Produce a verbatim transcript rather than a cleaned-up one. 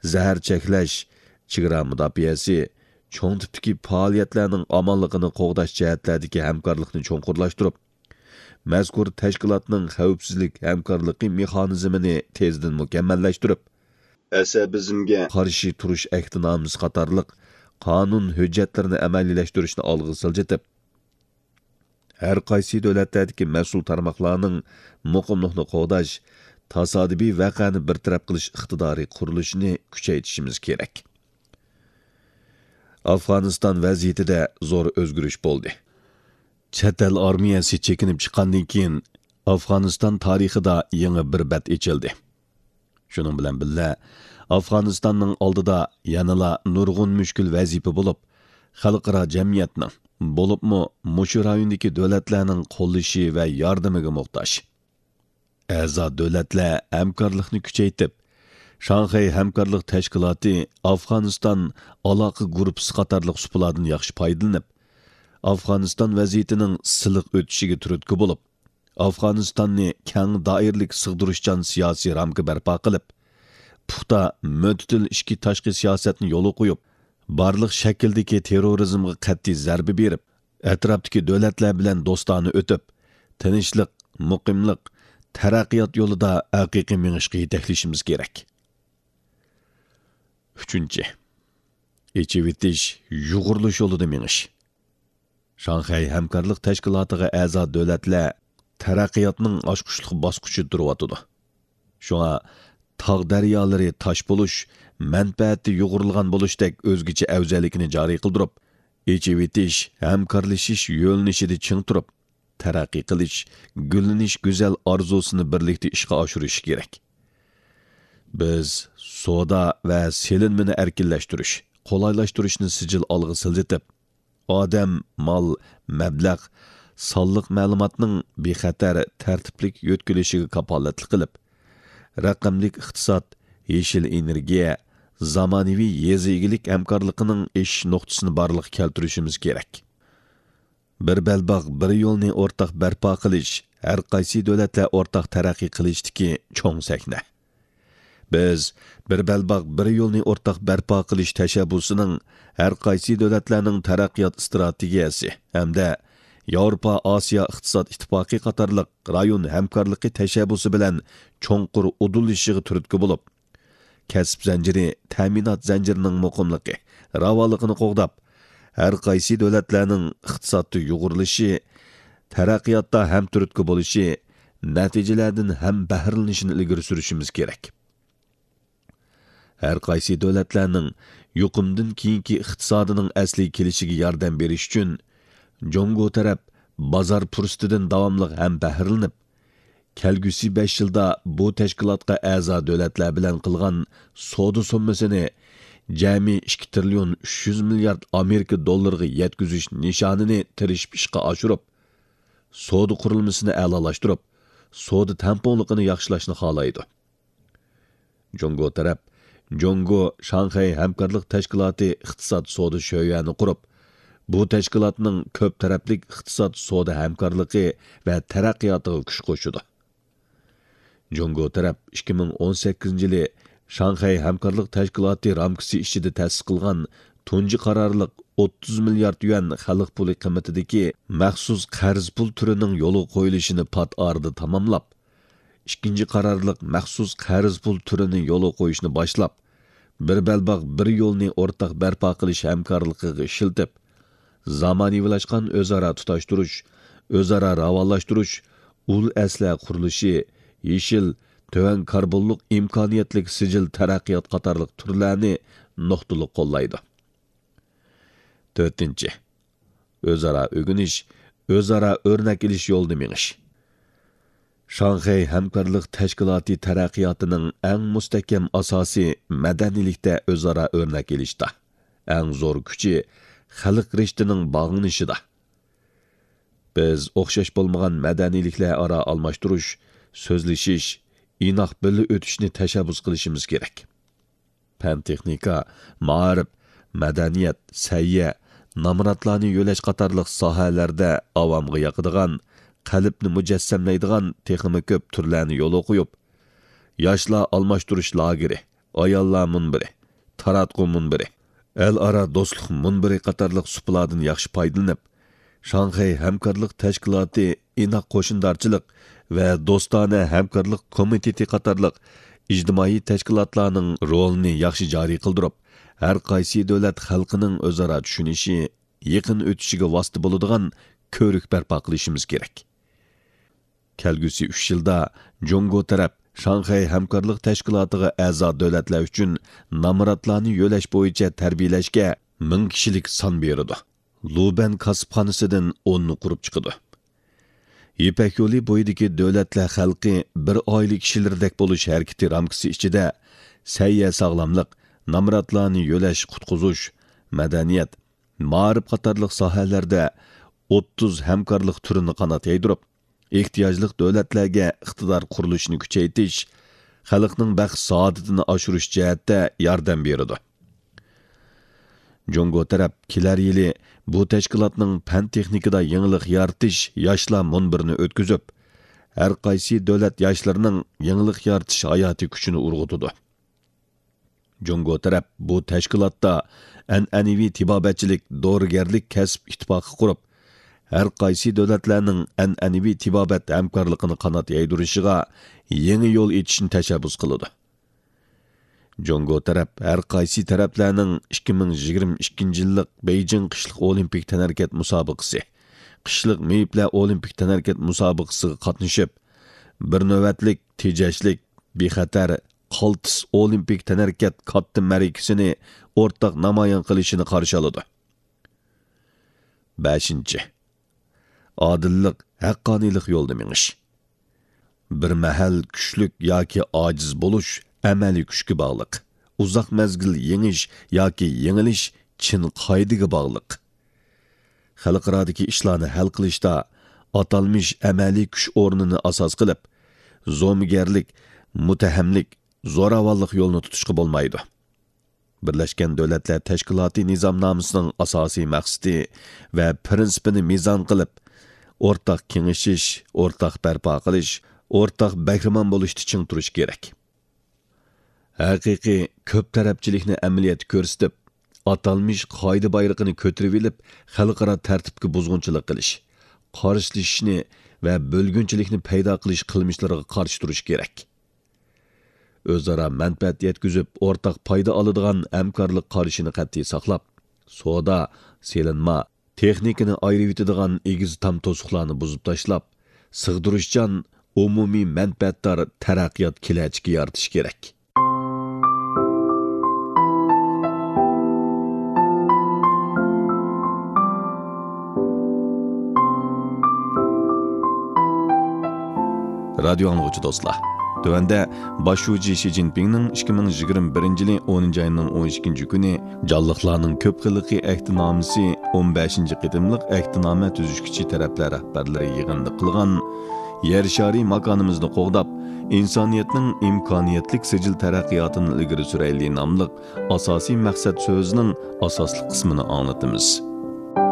زەھەر چەكلەش، چېگرا مۇداپىئەسى، چوڭ تىپتىكى پائالىيەتلەرنىڭ ئامانلىقىنى قوغداش جەھەتلەردىكى ھەمكارلىقنى چوڭقۇرلاشتۇرۇپ، مەزكۇر تەشكىلاتنىڭ خەۋپسىزلىك ھەمكارلىقى مېخانىزمىنى تېزدىن مۇكەممەللەشتۈرۈپ، ئەسەبىزمگە قارشى تۇرۇش ئەھدىنامىسى قاتارلىق قانۇن ھۆججەتلىرىنى ئەمەلىيلەشتۈرۈشنى ئالغا سىلجىتىپ، ھەر قايسى دۆلەتلەردىكى مەسئۇل تارماقلارنىڭ مۇقىملىقنى قوغداش، تاسادىپىي ۋەقەنى بىر تەرەپ قىلىش ئىقتىدارى قۇرۇلۇشىنى كۈچەيتىشىمىز كېرەك. ئافغانىستان ۋەزىيىتىدە زور ئۆزگىرىش بولدى. چەت ئەل ئارمىيەسى چېكىنىپ چىققاندىن كېيىن، ئافغانىستان تارىخىدا يېڭى بىر بەت ئېچىلدى. شۇنىڭ بىلەن بىللە، ئافغانىستاننىڭ ئالدىدا يەنىلا نۇرغۇن مۈشكۈل ۋەزىپە بولۇپ، خەلقئارا جەمئىيەتنىڭ، بولۇپمۇ مۇشۇ رايوندىكى دۆلەتلەرنىڭ قوللىشى ۋە ياردىمىگە موھتاج. ئەزا دۆلەتلەر ھەمكارلىقنى كۈچەيتىپ، شاڭخەي ھەمكارلىق تەشكىلاتى ئافغانىستان ئالاقە گۇرۇپپىسى قاتارلىق سۇپىلاردىن ياخشى پايدىلىنىپ، ئافغانىستان ۋەزىيىتىنىڭ سىلىق ئۆتۈشىگە تۈرتكە بولۇپ، ئافغانىستاننى كەڭ دائىرىلىك سىغدۇرۇشچان سىياسىي رامكا بەرپا قىلىپ، پۇختا، مۆتىدىل ئىچكى تاشقى سىياسەتنى يولغا قويۇپ، بارلىق شەكىلدىكى تېررورىزمغا قەتئىي زەربە بېرىپ، ئەتراپتىكى دۆلەتلەر بىلەن دوستانە ئۆتۈپ، تىنچلىق، مۇقىملىق، تەرەققىيات يولىدا ھەقىقىي مېڭىشقا يېتەكلىشىمىز كېرەك. ئۈچىنچى، ئېچىۋېتىش، يۇغۇرۇلۇش يولىدا مېڭىش. شاڭخەي ھەمكارلىق تەشكىلاتىغا ئەزا دۆلەتلەر تەرەققىياتنىڭ ئاچقۇچلۇق باسقۇچىدا تۇرۇۋاتىدۇ. شۇڭا تاغ دەريالىرى تاش بولۇش، مەنپەئەتتە يۇغۇرۇلغان بولۇشتەك ئۆزگىچە ئەۋزەللىكنى جارى قىلدۇرۇپ، ئېچىۋېتىش، ھەمكارلىشىش يۆنىلىشىدە چىڭ تۇرۇپ، تەرەققىي قىلىش، گۈللىنىش گۈزەل ئارزۇسىنى بىرلىكتە ئىشقا ئاشۇرۇش كېرەك. بىز سودا ۋە سېلىنمىنى ئەركىنلەشتۈرۈش، قولايلاشتۇرۇشنى سىجىل ئالغا سىلجىتىپ، ئادەم، مال، مەبلەغ، سانلىق مەلۇماتنىڭ بىخەتەر، تەرتىپلىك يۆتكىلىشىگە كاپالەتلىك قىلىپ، رەقەملىك ئىقتىساد، يېشىل ئېنېرگىيە، زامانىۋى يېزا ئىگىلىك ھەمكارلىقىنىڭ ئېشىش نۇقتىسىنى بارلىققا كەلتۈرۈشىمىز كېرەك. بىر بەلباغ، بىر يولنى ئورتاق بەرپا قىلىش ھەر قايسى دۆلەتلەر ئورتاق تەرەققىي قىلىشتىكى چوڭ سەھنە. بىز بىر بەلباغ، بىر يولنى ئورتاق بەرپا قىلىش تەشەببۇسىنىڭ ھەر قايسى دۆلەتلەرنىڭ تەرەققىيات ئىستراتېگىيەسى ھەمدە ياۋروپا ئاسىيا ئىقتىساد ئىتتىپاقى قاتارلىق رايون ھەمكارلىقى تەشەببۇسى بىلەن چوڭقۇر ئۇدۇللىشىشىغا تۈرتكە بولۇپ، كەسىپ زەنجىرى، تەمىنات زەنجىرىنىڭ مۇقىملىقى، راۋانلىقىنى قوغداپ، ھەر قايسى دۆلەتلەرنىڭ ئىقتىسادتا يۇغۇرۇلۇشى، تەرەققىياتتا ھەم تۈرتكە بولۇشى، نەتىجىلەردىن ھەم بەھرىلىنىشىنى ئىلگىرى سۈرۈشىمىز كېرەك. ھەر قايسى دۆلەتلەرنىڭ يۇقۇمدىن كېيىنكى ئىقتىسادىنىڭ ئەسلىگە كېلىشىگە ياردەم بېرىش ئۈچۈن، جۇڭگو تەرەپ بازار پۇرسىتىدىن داۋاملىق ھەم بەھرىلىنىپ، كەلگۈسى بەش يىلدا بۇ تەشكىلاتقا ئەزا دۆلەتلەر بىلەن قىلغان سودا سوممىسىنى جەمئىي ئىككى تىرىليون ئۈچ يۈز مىليارد ئامېرىكا دوللىرىغا يەتكۈزۈش نىشانىنى تىرىشىپ ئىشقا ئاشۇرۇپ، سودا قۇرۇلمىسىنى ئەلالاشتۇرۇپ، سودا تەڭپۇڭلۇقىنى ياخشىلاشنى خالايدۇ. جۇڭگو تەرەپ جۇڭگو شاڭخەي ھەمكارلىق تەشكىلاتى ئىقتىساد سودا شۆيۈەنى قۇرۇپ، بۇ تەشكىلاتنىڭ كۆپ تەرەپلىك ئىقتىساد سودا ھەمكارلىقى ۋە تەرەققىياتىغا كۈچ قوشىدۇ. جۇڭگو تەرەپ ئىككى مىڭ ئون سەككىزىنچى يىلى شاڭخەي ھەمكارلىق تەشكىلاتى رامكىسى ئىچىدە تەسىس قىلغان تۇنجى قارارلىق ئوتتۇز مىليارد يۈەن خەلق پۇلى قىممىتىدىكى مەخسۇس قەرز پۇل تۈرىنىڭ يولغا قويۇلۇشىنى پات ئارىدا تاماملاپ، ئىككىنچى قارارلىق مەخسۇس قەرز پۇل تۈرىنى يولغا قويۇشنى باشلاپ، بىر بەلباغ، بىر يولنى ئورتاق بەرپا قىلىش ھەمكارلىقىغا ئىشلىتىپ، زامانىۋىلاشقان ئۆزئارا تۇتاشتۇرۇش، ئۆزئارا راۋانلاشتۇرۇش، ئۇل ئەسلىھە قۇرۇلۇشى، يېشىل، تۆۋەن كاربونلۇق ئىمكانىيەتلىك سىجىل تەرەققىيات قاتارلىق تۈرلەرنى نۇقتىلىق قوللايدۇ. تۆتىنچى، ئۆزئارا ئۆگىنىش، ئۆزئارا ئۆرنەك ئېلىش يولىدا مېڭىش. شاڭخەي ھەمكارلىق تەشكىلاتى تەرەققىياتىنىڭ ئەڭ مۇستەھكەم ئاساسى مەدەنىيلىكتە ئۆزئارا ئۆرنەك ئېلىشتا، ئەڭ زور كۈچى خەلق رىشتىنىڭ باغلىنىشىدا. بىز ئوخشاش بولمىغان مەدەنىيلىكلەر ئارا ئالماشتۇرۇش، سۆزلىشىش، ئىناق بىللە ئۆتۈشنى تەشەببۇس قىلىشىمىز كېرەك. پەن-تېخنىكا، مائارىپ، مەدەنىيەت، سەھىيە، نامراتلارنى يۆلەش قاتارلىق ساھەلەردە ئاۋامغا ياقىدىغان، قەلبنى مۇجەسسەملەيدىغان تېخىمۇ كۆپ تۈرلەرنى يولغا قويۇپ، ياشلار ئالماشتۇرۇش لاگېرى، ئاياللار مۇنبىرى، تاراتقۇ مۇنبىرى، ئەلئارا دوستلۇق مۇنبىرى قاتارلىق سۇپىلاردىن ياخشى پايدىلىنىپ، شاڭخەي ھەمكارلىق تەشكىلاتى ئىناق قوشنىدارچىلىق ۋە دوستانە ھەمكارلىق كومىتېتى قاتارلىق ئىجتىمائىي تەشكىلاتلارنىڭ رولىنى ياخشى جارى قىلدۇرۇپ، ھەر قايسى دۆلەت خەلقىنىڭ ئۆزئارا چۈشىنىشى، يېقىن ئۆتۈشىگە ۋاسىتە بولىدىغان كۆۋرۈك بەرپا قىلىشىمىز كېرەك. كەلگۈسى ئۈچ يىلدا جۇڭگو تەرەپ شاڭخەي ھەمكارلىق تەشكىلاتىغا ئەزا دۆلەتلەر ئۈچۈن نامراتلارنى يۆلەش بويىچە تەربىيەلەشكە مىڭ كىشىلىك سان بېرىدۇ. لۇبەن كاسىپخانىسىدىن ئوننى قۇرۇپ چىقىدۇ. يىپەك يولى بويىدىكى دۆلەتلەر خەلقى بىر ئائىلە كىشىلىرىدەك بولۇش ھەرىكىتى رامكىسى ئىچىدە سەھىيە ساغلاملىق، نامراتلارنى يۆلەش، قۇتقۇزۇش، مەدەنىيەت، مائارىپ قاتارلىق ساھەلەردە ئوتتۇز ھەمكارلىق تۈرىنى قانات يايدۇرۇپ، ئېھتىياجلىق دۆلەتلەرگە ئىقتىدار قۇرۇلۇشىنى كۈچەيتىش، خەلقنىڭ بەخت سائادىتىنى ئاشۇرۇش جەھەتتە ياردەم بېرىدۇ. جۇڭگو تەرەپ كېلەر يىلى بۇ تەشكىلاتنىڭ پەن تېخنىكىدا يېڭىلىق يارىتىش ياشلار مۇنبىرىنى ئۆتكۈزۈپ، ھەر قايسى دۆلەت ياشلىرىنىڭ يېڭىلىق يارىتىش ھاياتىي كۈچىنى ئۇرغۇتىدۇ. جۇڭگو تەرەپ بۇ تەشكىلاتتا ئەنئەنىۋى تېبابەتچىلىك، دورىگەرلىك كەسىپ ئىتتىپاقى قۇرۇپ، ھەر قايسى دۆلەتلەرنىڭ ئەنئەنىۋى تېبابەت ھەمكارلىقىنى قانات يايدۇرۇشىغا يېڭى يول ئېچىشنى تەشەببۇس قىلىدۇ. جۇڭگو تەرەپ ھەر قايسى تەرەپلەرنىڭ ئىككى مىڭ يىگىرمە ئىككىنچى يىللىق بېيجىڭ قىشلىق ئولىمپىك تەنھەرىكەت مۇسابىقىسى، قىشلىق مېيىپلەر ئولىمپىك تەنھەرىكەت مۇسابىقىسىغا قاتنىشىپ، بىر نۆۋەتلىك، تېجەشلىك، بىخەتەر، قالتىس ئولىمپىك تەنھەرىكەت كاتتا مەرىكىسىنى ئورتاق نامايان قىلىشىنى قارشى ئالىدۇ. بەشىنچى، ئادىللىق، ھەققانىيلىق يولىدا مېڭىش. بىر مەھەل كۈچلۈك ياكى ئاجىز بولۇش ئەمەلىي كۈچكە باغلىق. ئۇزاق مەزگىل يېڭىش ياكى يېڭىلىش چىن قائىدىگە باغلىق. خەلقئارادىكى ئىشلارنى ھەل قىلىشتا ئاتالمىش ئەمەلىي كۈچ ئورنىنى ئاساس قىلىپ، زومىگەرلىك، مۇتتەھەملىك، زوراۋانلىق يولىنى تۇتۇشقا بولمايدۇ. بىرلەشكەن دۆلەتلەر تەشكىلاتى نىزامنامىسىنىڭ ئاساسىي مەقسىتى ۋە پىرىنسىپىنى مىزان قىلىپ، ئورتاق كېڭىشىش، ئورتاق بەرپا قىلىش، ئورتاق بەھرىمەن بولۇشتا چىڭ تۇرۇش كېرەك. ھەقىقىي كۆپ تەرەپچىلىكنى ئەمەلىيەتتە كۆرسىتىپ، ئاتالمىش قائىدە بايرىقىنى كۆتۈرۈۋېلىپ، خەلقئارا تەرتىپكە بۇزغۇنچىلىق قىلىش، قارشىلىشىشنى ۋە بۆلگۈنچىلىكنى پەيدا قىلىش قىلمىشلىرىغا قارشى تۇرۇش كېرەك. ئۆزئارا مەنپەئەت يەتكۈزۈپ، ئورتاق پايدا ئالىدىغان ھەمكارلىق قارىشىنى قەتئىي ساقلاپ، سودا، سېلىنما، تېخنىكىنى ئايرىۋېتىدىغان ئېگىز تام توسۇقلارنى بۇزۇپ تاشلاپ، سىغدۇرۇشچان، ئومۇمىي مەنپەئەتدار تەرەققىيات كېلەچىكى يارىتىش كېرەك. رادىيو ئاڭلىغۇچى دوستلار، تۆۋەندە باش شۇجى شى جىنپىڭنىڭ ئىككى مىڭ يىگىرمە بىرىنچى يىلى ئونىنچى ئاينىڭ ئون ئىككىنچى كۈنى جانلىقلارنىڭ كۆپ خىللىقى ئەھدىنامىسى ئون بەشىنچى قېتىملىق ئەھدىنامە تۈزۈشكۈچى تەرەپلەر رەھبەرلىرى يىغىنىدا قىلغان يەر شارى ماكانىمىزنى قوغداپ، ئىنسانىيەتنىڭ ئىمكانىيەتلىك سىجىل تەرەققىياتىنى ئىلگىرى سۈرەيلى ناملىق ئاساسىي مەقسەت سۆزىنىڭ ئاساسلىق قىسمىنى ئاڭلىتىمىز.